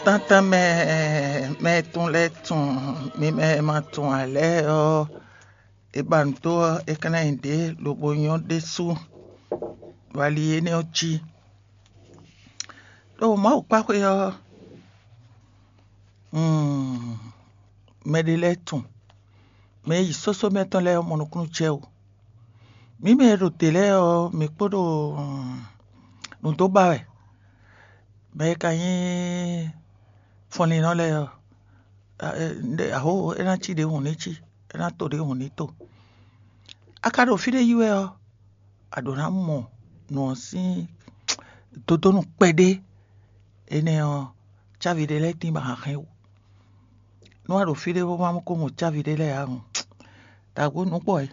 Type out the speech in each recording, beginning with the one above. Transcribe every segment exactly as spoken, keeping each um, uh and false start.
Tántán mɛ mɛ tɔn lɛ́ɛ tunwun, mi mɛ e ma tunwun ǎ lɛ́ɛ ɔ́, è ba nǔ dó ɔ́, é ka ná nyí ɖě lobo nyɔ́ ɖésú. Wali énɛ́ ɔ́ jí. Ɖo Mawu kpá xwé ɔ́, mɛɖé lɛ́ɛ tunwun, mɛ e yi sósó mɛtɔn lɛ́ɛ ɔ́ mɔ nukúnnú jɛ wú. Mǐ mɛ e ɖo te lɛ́ɛ ɔ́, mǐ kpo ɖo nǔ dó ba wɛ. Mɛ e ka nyí fɔnlínnɔ lɛ́ɛ ɔ́, aho é ná cí ɖěhun ní cí, é ná to ɖěhun ní to. A ka ɖo fí ɖé yi wɛ ɔ́, a ɖǒ ná mɔ nǔ ɔ́ sín dodónu kpɛɖé. Énɛ́ ɔ́, cávi ɖé lɛ́ɛ tín bɔ a hɛn wú. Nú a ɖo fí ɖé bó ma ko mɔ cávi ɖé lɛ́ɛ ǎ hǔn, dǎgbó nǔ kpɔ wɛ.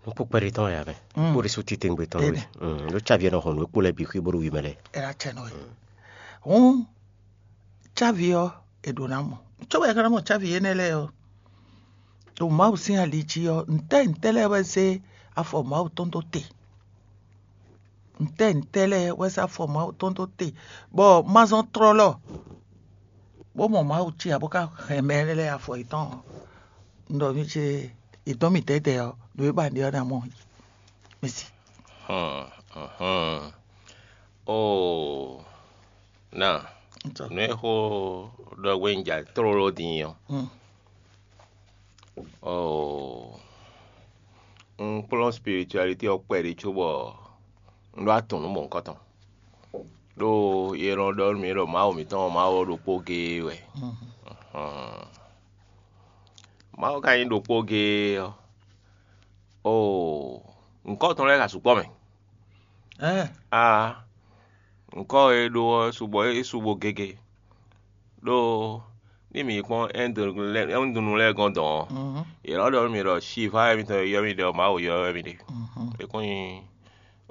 Nukpó kpɛɖé tɔn wɛ ǎ mɛ. Mm. Kpó ɖésú titewungbe tɔn wɛ. Énɛ́. Mm, ɖó cávi ɔ́ nɔ hɔn nǔ e kpo lɛ́ɛ bǐ xwí bó ɖo wi mɛ lɛ́ɛ. É ná cɛ nɔ wɛ. Hǔn cávi ɔ́, è ɖǒ ná mɔ. Cóbɔ è ka ná mɔ cávi énɛ́ lɛ́ɛ ɔ́, ɖo Mawu sín ali jí ɔ́, ntɛ́ ntɛ́ lɛ́ɛ wɛ zé afɔ Mawu tɔn dó te? Ntɛ́ ntɛ́ lɛ́ɛ wɛ zé afɔ Mawu tɔn dó te, bɔ ma zɔn tlɔlɔ, bó mɔ Mawu cí ǎ, bó ka hɛn mɛ lɛ́ɛ afɔ yětɔn ɔ́? Un ɖɔ mi ce, è dɔn mì dɛ̌dɛ̌ ɔ́, nǔ e ba ɖe ɔ́ ná mɔ. Mɛsi. Hɔn, hɔn. Oo, na, Ntɔ. Nú é xó ɖɔ hwenu ja tlóló din ɔ́. Mm. Oo, un kplɔ́n spiritualité ɔ́ kpɛɖé cóbɔ un ɖó atɔn nú mɔ̌hunkɔtɔn. Ɖó yě nɔ ɖɔ nú mì ɖɔ Mawu mǐtɔn ɔ́, Mawu ɔ́ ɖokpó géé wɛ. Mm. Hɔn. Mawu ka nyí ɖokpó géé ɔ́, oo, nyǐkɔ tɔn lɛ́ɛ ka sukpɔ́ mɛ. Ɛɛ. A nyǐkɔ e ɖó ɔ́ sugbɔ é subo gege. Ɖó ní mǐ kpɔ́n Ɛndunu lɛ́ɛ gɔ́n dɔn ɔ́, yě nɔ ɖɔ nú mì ɖɔ Shiva wɛ mitɔn e ylɔ́ mì ɖe ɔ́, Mawu ylɔ́ wɛ mì ɖe. É kún nyí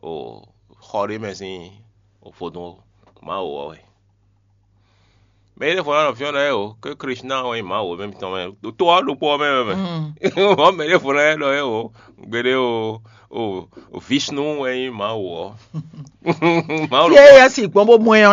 o xɔ ɖé mɛ sín vodún ó, Mawu ɔ́ wɛ. Mɛ e ɖěvo ná nɔ fyɔ́n ɖɔ é o, ké Krishna wɛ nyí Mawu mɛ mitɔn mɛ, ɖo to ɔ́ ɖokpó ɔ́ mɛ wɛ mɛ. Mɔ mɛ ɖěvo ná ɖɔ é o, gbeɖé o, o Vishnu wɛ nyí Mawu ɔ́. Mawu Fí e yɛ si gbɔn bó mɔ ɛ ɔ́,